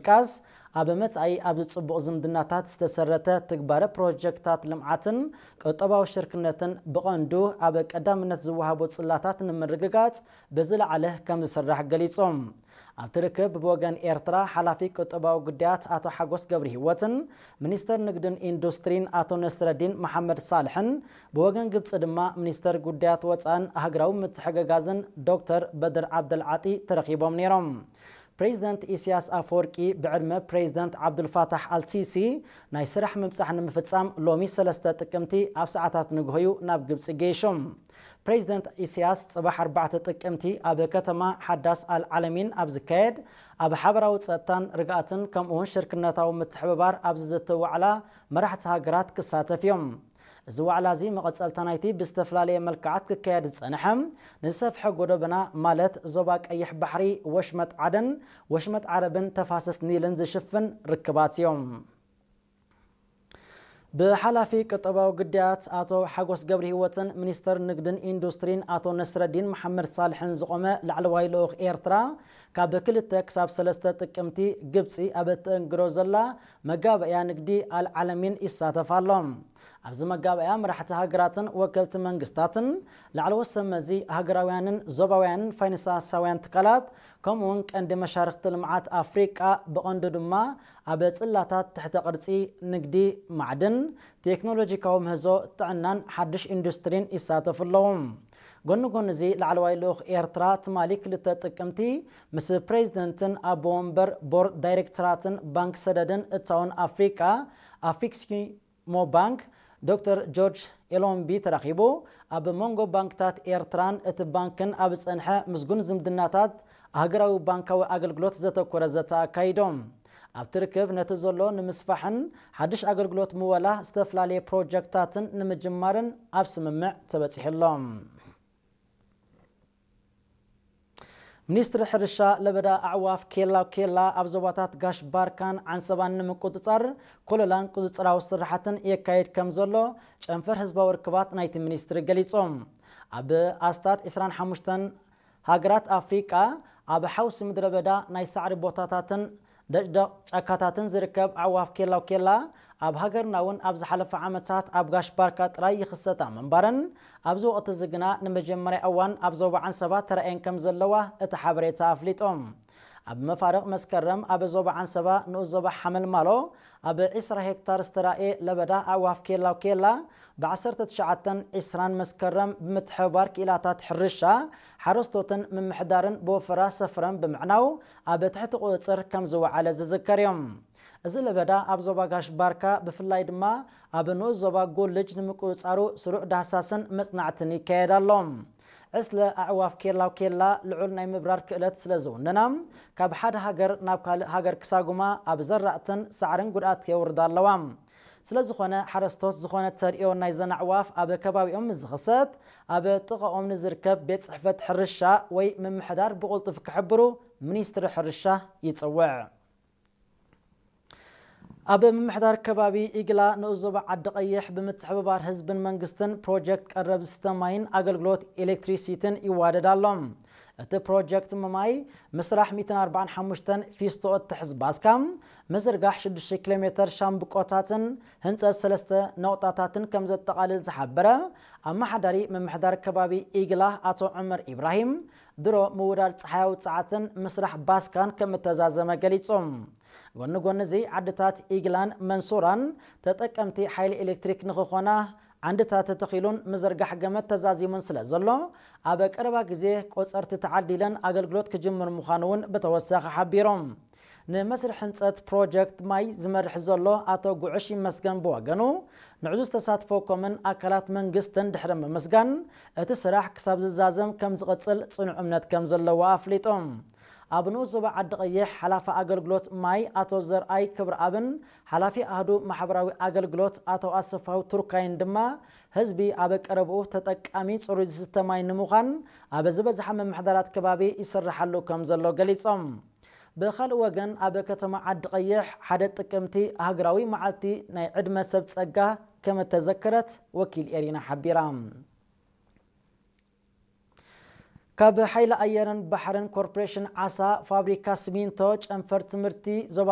ብምጥቃስ፣ ኣብ መጻኢ ኣብዚ ጽቡቕ ዝምድናታት ዝተሰረተ ትግባረ ፕሮጀክታት ልምዓትን ቁጠባዊ ሽርክነትን ብቐንዱ ኣብ ቀዳምነት ዝወሃቦ ጽላታት ንምርግጋጽ ብዝለዓለ ከም ዝስራሕ ገሊጾም። ኣብቲ ርክብ ብወገን ኤርትራ ሓላፊ ቁጠባዊ ጉዳያት ኣቶ ሓጎስ ገብረ ህይወትን ሚኒስተር ንግድን ኢንዱስትሪን ኣቶ ነስረዲን መሓመድ ሳልሕን፣ ብወገን ግብጺ ድማ ሚኒስተር ጉዳያት ወጻእን ሃገራዊ ምትሕግጋዝን ዶክተር በድር ዓብደልዓጢ ተረኺቦም ነይሮም። ፕሬዚደንት ኢሳያስ ኣፈወርቂ ብዕድመ ፕሬዚደንት ዓብዱልፋታሕ ኣልሲሲ ናይ ስራሕ ምብጻሕ ንምፍጻም ሎሚ ሰለስተ ጥቅምቲ ኣብ ሰዓታት ንግሆዩ ናብ ግብጺ ገይሾም። ፕሬዚደንት ኢሳያስ ጽባሕ ኣርባዕተ ጥቅምቲ ኣብ ከተማ ሓዳስ ኣል ዓለሚን ኣብ ዝካየድ ኣብ ሓበራዊ ጸጥታን ርግኣትን ከምኡውን ሽርክነታዊ ምትሕብባር ኣብ ዝዝቲ ዋዕላ መራሕቲ ሃገራት ክሳተፍ እዮም። እዚ ዋዕላ እዚ መቐጸልታ ናይቲ ብዝተፈላለየ መልክዓት ክካየድ ዝጸንሐ ንዝሰፍሐ ጎደበና ማለት ዞባ ቀይሕ ባሕሪ፣ ወሽመጥ ዓደን ወሽመጥ ዓረብን ተፋሰስ ኒልን ዝሽፍን ርክባት እዮም። ብሓላፊ ቁጠባዊ ጉዳያት ኣቶ ሓጎስ ገብረ ህይወትን ሚኒስተር ንግድን ኢንዱስትሪን ኣቶ ነስረዲን መሓመድ ሳልሕን ዝቖመ ላዕለዋይ ልኡኽ ኤርትራ ካብ ክልተ ክሳብ ሰለስተ ጥቅምቲ ግብጺ ኣብ እተእንግዶ ዘላ መጋበእያ ንግዲ ኣልዓለሚን ይሳተፍ ኣሎ። ኣብዚ መጋበእያ መራሕቲ ሃገራትን ወከልቲ መንግስታትን ላዕለዎት ሰብ መዚ ሃገራውያንን ዞባውያንን ፋይናንሳውያን ትካላት ከምኡውን ቀንዲ መሻርክቲ ልምዓት ኣፍሪቃ ብቐንዱ ድማ ኣብ ጽላታት ትሕተ ቅርጺ ንግዲ፣ ማዕድን፣ ቴክኖሎጂካዊ ምህዞ፣ ጥዕናን ሓድሽ ኢንዱስትሪን ይሳተፉ ኣለዉ። ጎኒ ጎኒ እዚ ላዕለዋይ ልኡኽ ኤርትራ ትማሊ ክልተ ጥቅምቲ ምስ ፕሬዚደንትን ኣቦ ወንበር ቦርድ ዳይሬክተራትን ባንክ ሰደድን እታውን ኣፍሪቃ ኣፍሪክስኪ ሞ ባንክ ዶክተር ጆርጅ ኤሎምቢ ተራኺቡ ኣብ መንጎ ባንክታት ኤርትራን እቲ ባንክን ኣብ ዝጸንሐ ምስጉን ዝምድናታት ሃገራዊ ባንካዊ ኣገልግሎት ዘተኮረ ዘተ ኣካይዶም። ኣብቲ ርክብ ነቲ ዘሎ ንምስፋሕን ሓድሽ ኣገልግሎት ምወላ ዝተፈላለየ ፕሮጀክትታትን ንምጅማርን ኣብ ስምምዕ ተበጺሑ ኣሎ። ሚኒስትሪ ሕርሻ ለበዳ ኣዕዋፍ ኬላ ኬላ ኣብ ዞባታት ጋሽ ባርካን ዓንሰባን ንምቁጽጻር ኮለላን ቁጽጽራዊ ስራሓትን የካይድ ከም ዘሎ ጨንፈር ህዝባዊ ርክባት ናይቲ ሚኒስትሪ ገሊጾም። ኣብ ኣስታት ዕስራን ሓሙሽተን ሃገራት ኣፍሪቃ ኣብ ሓውሲ ምድረ በዳ ናይ ሳዕሪ ቦታታትን ደጭደቕ ጫካታትን ዝርከብ ኣዕዋፍ ኬላው ኬላ ኣብ ሃገርና እውን ኣብ ዝሓለፈ ዓመታት ኣብ ጋሽ ባርካ ጥራይ ይኽሰታ ምንባረን ኣብዚ ወቕቲ እዚ ግና ንመጀመርያ እዋን ኣብ ዞባ ዓንሰባ ተራእየን ከም ዘለዋ እቲ ሓበሬታ ኣፍሊጦም። ኣብ መፋርቕ መስከረም ኣብ ዞባ ዓንሰባ ንኡስ ዞባ ሓመልማሎ ኣብ ዕስራ ሄክታር ዝተራእየ ለበዳ ኣዕዋፍ ኬላው ኬላ ብ ዓሰርተ ትሽዓተን ዕስራን መስከረም ብምትሕብባር ክኢላታት ሕርሻ ሓረስቶትን ምምሕዳርን ብወፈራ ሰፍረን ብምዕናው ኣብ ትሕቲ ቁጽጽር ከም ዝወዓለ ዝዝከር እዮም። እዚ ለበዳ ኣብ ዞባ ጋሽ ባርካ ብፍላይ ድማ ኣብ ንኡስ ዞባ ጎልጅ ንምቁጽጻሩ ስሩዕ ዳህሳስን መጽናዕትን ይካየድ ኣሎ። ዕስለ ኣዕዋፍ ኬላው ኬላ ልዑል ናይ ምብራር ክእለት ስለ ዝውንና ካብ ሓደ ሃገር ናብ ካልእ ሃገር ክሳጉማ ኣብ ዘራእትን ሳዕርን ጉድኣት የውርዳ ኣለዋ። ስለ ዝኾነ ሓረስቶት ዝኾነ ተርእዮ ናይዘን ኣዕዋፍ ኣብ ከባቢኦም ምስ ዝኽሰት ኣብ ጥቓኦም ንዝርከብ ቤት ጽሕፈት ሕርሻ ወይ ምምሕዳር ብቕልጡፍ ክሕብሩ ሚኒስትሪ ሕርሻ ይጽውዕ። ኣብ ምምሕዳር ከባቢ ኢግላ ንኡስ ዞባ ዓዲ ቀይሕ ብምትሕብባር ህዝብን መንግስትን ፕሮጀክት ቀረብ ዝስተ ማይን ኣገልግሎት ኤሌክትሪሲቲን ይዋደድ ኣሎ። እቲ ፕሮጀክት ማይ ምስራሕ ሚእትን ኣርባዓን ሓሙሽተን ፊስቶ እትሕዝ ባስካ፣ ምዝርጋሕ ሽዱሽተ ኪሎ ሜተር ሻምብቆታትን ህንፀት ሰለስተ ነቑጣታትን ከም ዘጠቓልል ዝሓበረ ኣመሓዳሪ ምምሕዳር ከባቢ ኢግላ ኣቶ ዑመር ኢብራሂም፣ ድሮ ምውዳድ ፀሓያዊ ፀዓትን ምስራሕ ባስካን ከም እተዛዘመ ገሊጹ። ጎኒ ጎኒ እዚ ዓድታት ኢግላን መንሱራን ተጠቀምቲ ሓይሊ ኤሌክትሪክ ንኽኾና ዓንድታት ተተኺሉን ምዝርጋሕ ገመድ ተዛዚሙን ስለ ዘሎ ኣብ ቀረባ ግዜ ቆጸርቲ ተዓዲለን ኣገልግሎት ክጅምር ምዃኑ እውን ብተወሳኺ ሓቢሮም። ንመስርሕ ህንፀት ፕሮጀክት ማይ ዝመርሕ ዘሎ ኣቶ ጉዕሽ ይመስገን ብወገኑ ንዕዙዝ ተሳትፎ ኮምን ኣካላት መንግስትን ድሕሪ ምምስጋን እቲ ስራሕ ክሳብ ዝዛዘም ከም ዝቕጽል ጽኑዕ እምነት ከም ዘለዎ ኣፍሊጡ። ኣብ ንኡስ ዞባ ዓዲ ቀይሕ ሓላፊ ኣገልግሎት ማይ ኣቶ ዘርኣይ ክብረኣብን ሓላፊ ኣህዱ ማሕበራዊ ኣገልግሎት ኣቶ ኣሰፋው ቱርካይን ድማ ህዝቢ ኣብ ቀረብኡ ተጠቃሚ ጽሩይ ዝስተ ማይ ንምዃን ኣብ ዝበዝሓ ምምሕዳራት ከባቢ ይስርሓሉ ከም ዘሎ ገሊጾም። ብኻልእ ወገን ኣብ ከተማ ዓዲ ቀይሕ ሓደ ጥቅምቲ ሃገራዊ መዓልቲ ናይ ዕድመ ሰብ ጸጋ ከም እተዘከረት ወኪል ኤሪና ሓቢራ። ካብ ሓይሊ ኣየርን ባሕርን ኮርፖሬሽን ዓሳ ፋብሪካ ሲሚንቶ ጨንፈር ትምህርቲ ዞባ